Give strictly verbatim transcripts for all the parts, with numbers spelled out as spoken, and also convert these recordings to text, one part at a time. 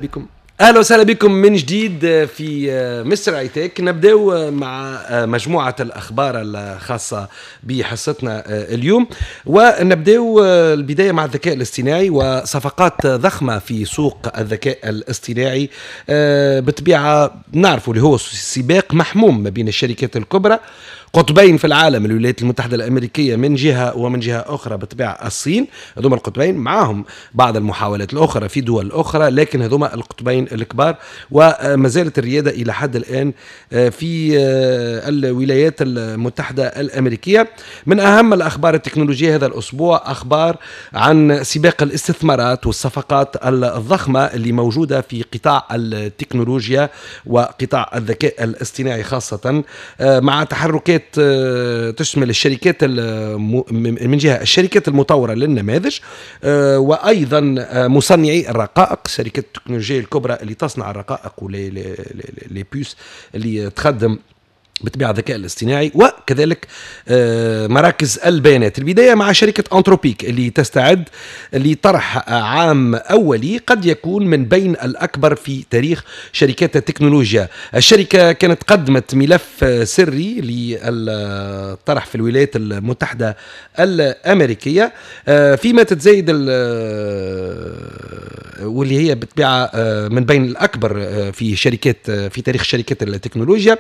بكم، اهلا وسهلا بكم من جديد في مستر ايتك. نبداو مع مجموعة الاخبار الخاصة بحصتنا اليوم، ونبداو البداية مع الذكاء الاصطناعي وصفقات ضخمة في سوق الذكاء الاصطناعي. بالطبيعة نعرفوا اللي هو سباق محموم ما بين الشركات الكبرى، قطبين في العالم، الولايات المتحدة الأمريكية من جهة ومن جهة أخرى بالطبيعة الصين. هذوما القطبين، معاهم بعض المحاولات الأخرى في دول أخرى، لكن هذوما القطبين الكبار، وما زالت الريادة إلى حد الآن في الولايات المتحدة الأمريكية. من أهم الأخبار التكنولوجية هذا الأسبوع أخبار عن سباق الاستثمارات والصفقات الضخمة اللي موجودة في قطاع التكنولوجيا وقطاع الذكاء الاصطناعي خاصة، مع تحركات تشمل الشركات من جهة الشركات المطورة للنماذج، آه، وأيضا آه، مصنعي الرقائق، شركات التكنولوجيا الكبرى اللي تصنع الرقائق و les puces اللي تخدم بطبيعة الذكاء الاصطناعي، وكذلك آه، مراكز البيانات. البداية مع شركة أنثروبيك اللي تستعد لطرح عام أولي قد يكون من بين الأكبر في تاريخ شركات التكنولوجيا. الشركة كانت قدمت ملف سري للطرح في الولايات المتحدة الأمريكية، آه، فيما تتزايد، واللي هي بالطبيعة آه، من بين الأكبر في شركات في تاريخ شركات التكنولوجيا.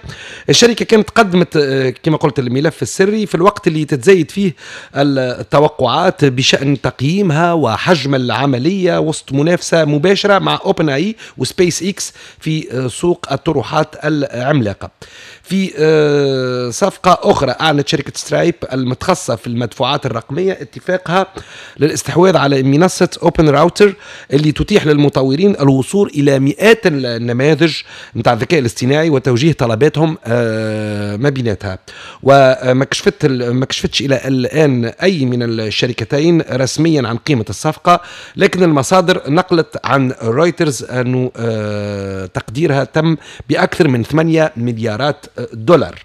الشركة كانت قدمت آه، كما قلت الملف السري في الوقت اللي تتزايد فيه التوقعات بشأن تقييمها وحجم العملية، وسط منافسة مباشرة مع OpenAI و SpaceX في آه، سوق الطروحات العملاقة. في آه، صفقة أخرى، أعلنت شركة Stripe المتخصصة في المدفوعات الرقمية اتفاقها للاستحواذ على منصة OpenRouter اللي تتيح للمطورين الوصول إلى مئات النماذج نتاع الذكاء الاصطناعي وتوجيه طلباتهم آه، ما بيناتها. وما كشفت ما كشفتش إلى الآن أي من الشركتين رسميا عن قيمة الصفقة، لكن المصادر نقلت عن رويترز أنه آه، تقديرها تم بأكثر من ثمانية مليارات دولار.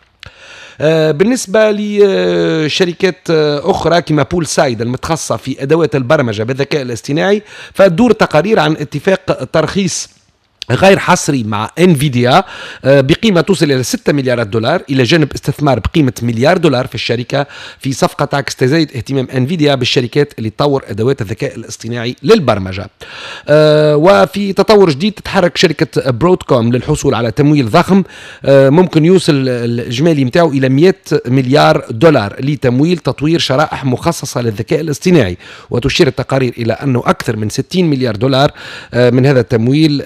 آه، بالنسبة لشركات أخرى كما Poolside المتخصصة في أدوات البرمجة بالذكاء الاصطناعي، فتدور تقارير عن اتفاق ترخيص غير حصري مع انفيديا آه، بقيمة توصل الى ستة مليارات دولار، الى جانب استثمار بقيمة مليار دولار في الشركه، في صفقة تعكس تزايد اهتمام انفيديا بالشركات اللي تطور ادوات الذكاء الاصطناعي للبرمجه. آه، وفي تطور جديد، تتحرك شركة Broadcom للحصول على تمويل ضخم آه، ممكن يوصل الاجمالي نتاعو الى مئة مليار دولار لتمويل تطوير شرائح مخصصة للذكاء الاصطناعي. وتشير التقارير الى انه اكثر من ستين مليار دولار من هذا التمويل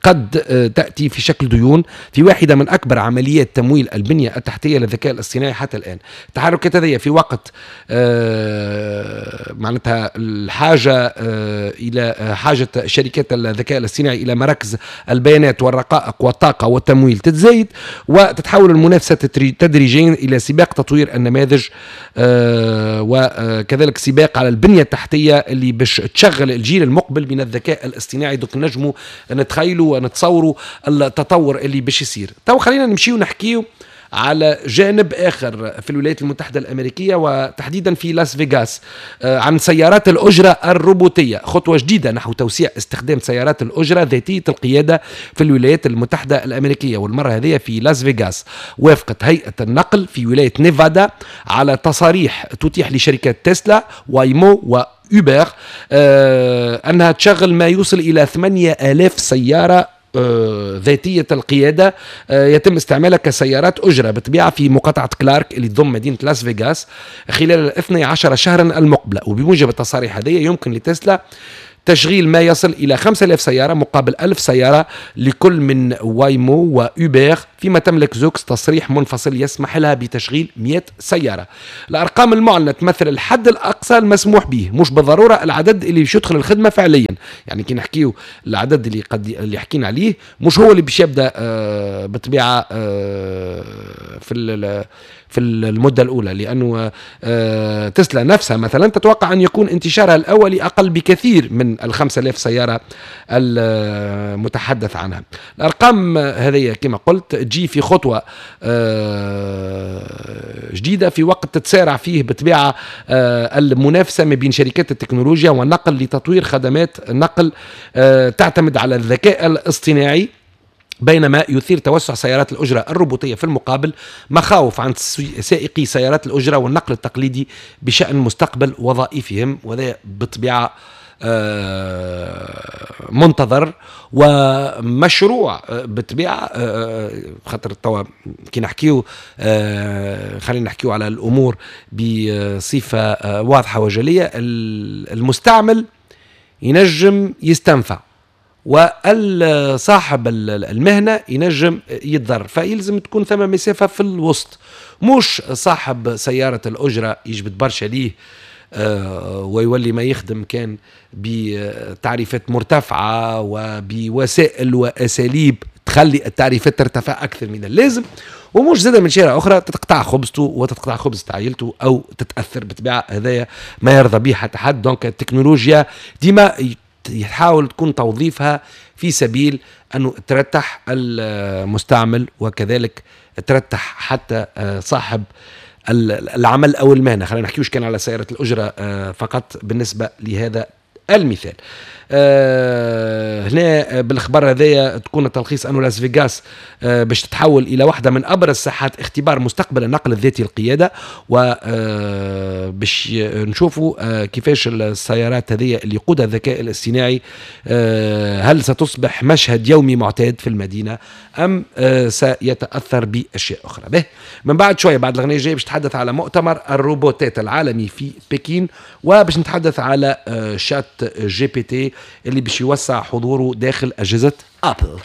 قد تأتي في شكل ديون، في واحدة من أكبر عمليات تمويل البنية التحتية للذكاء الاصطناعي حتى الآن. التحركات هذه في وقت آه، معناتها الحاجة آه، إلى حاجة شركات الذكاء الاصطناعي إلى مراكز البيانات والرقائق والطاقة والتمويل تتزايد، وتتحول المنافسة تدريجيا إلى سباق تطوير النماذج آه، وكذلك سباق على البنية التحتية اللي باش تشغل الجيل المقبل من الذكاء الاصطناعي. donc نجموا نتخيلوا ونتصوروا التطور اللي باش يصير. تو خلينا نمشيو نحكيو على جانب اخر في الولايات المتحدة الامريكية وتحديدا في لاس فيغاس آه، عن سيارات الاجرة الروبوتيه، خطوة جديدة نحو توسيع استخدام سيارات الاجرة ذاتية القيادة في الولايات المتحدة الامريكيه. والمرة هذه في لاس فيغاس، وافقت هيئة النقل في ولاية نيفادا على تصاريح تتيح لشركات تسلا، Waymo و Uber آه انها تشغل ما يوصل الى ثمانية آلاف سيارة آه، ذاتية القيادة آه، يتم استعمالها كسيارات أجرة بالطبيعة في مقاطعة كلارك اللي تضم مدينة لاس فيغاس خلال الاثني عشر شهرا المقبلة. وبموجب التصاريح هذه يمكن لتسلا تشغيل ما يصل إلى خمسة آلاف سيارة مقابل ألف سيارة لكل من Waymo و Uber، فيما تملك Zoox تصريح منفصل يسمح لها بتشغيل مئة سيارة. الأرقام المعلنة تمثل الحد الأقصى المسموح به، مش بالضرورة العدد اللي باش يدخل الخدمة فعليا. يعني كي نحكيو العدد اللي قد اللي حكينا عليه مش هو اللي باش يبدا آه بالطبيعة آه في في المدة الأولى، لأنه آه، تسلا نفسها مثلا تتوقع أن يكون انتشارها الأولي أقل بكثير من الخمسة آلاف سيارة المتحدث عنها. الأرقام هذه كما قلت تجي في خطوة آه، جديدة في وقت تتسارع فيه بطبيعة آه، المنافسة ما بين شركات التكنولوجيا والنقل لتطوير خدمات نقل تعتمد على الذكاء الاصطناعي، بينما يثير توسع سيارات الأجرة الروبوتية في المقابل مخاوف عند سائقي سيارات الأجرة والنقل التقليدي بشأن مستقبل وظائفهم. وهذا بالطبيعة آه، منتظر ومشروع آه، بالطبيعة، آه، خاطر توا كي نحكيو، خلينا نحكيو على الأمور بصفة واضحة وجلية، المستعمل ينجم يستنفع وصاحب المهنة ينجم يتضر، فيلزم تكون ثم مسافة في الوسط، مش صاحب سيارة الأجرة يجبد برشا ليه آه، ويولي ما يخدم كان بتعريفات مرتفعة وبوسائل وأساليب تخلي التعريفات ترتفع أكثر من اللازم، ومش زاد من شيرة أخرى تتقطع خبزته وتتقطع خبزة عائلته أو تتأثر. بالطبيعة هذايا ما يرضى به حتى حد. donc التكنولوجيا ديما يحاول تكون توظيفها في سبيل أنه ترتح المستعمل وكذلك ترتح حتى آه، صاحب العمل أو المهنة. خلينا نحكيوش كان على سيارة الأجرة آه، فقط بالنسبة لهذا المثال. آه هنا بالخبر هذايا تكون التلخيص أنه لاس فيغاس آه باش تتحول إلى واحدة من أبرز ساحات اختبار مستقبل النقل الذاتي القيادة، وباش آه نشوفوا آه كيفاش السيارات هذه اللي يقودها الذكاء الاصطناعي آه هل ستصبح مشهد يومي معتاد في المدينة أم آه سيتأثر بأشياء أخرى. به من بعد شوية بعد الأغنية الجاية باش نتحدث على مؤتمر الروبوتات العالمي في بكين، وباش نتحدث على آه شات جي بي تي اللي باش يوسع حضوره داخل أجهزة أبل.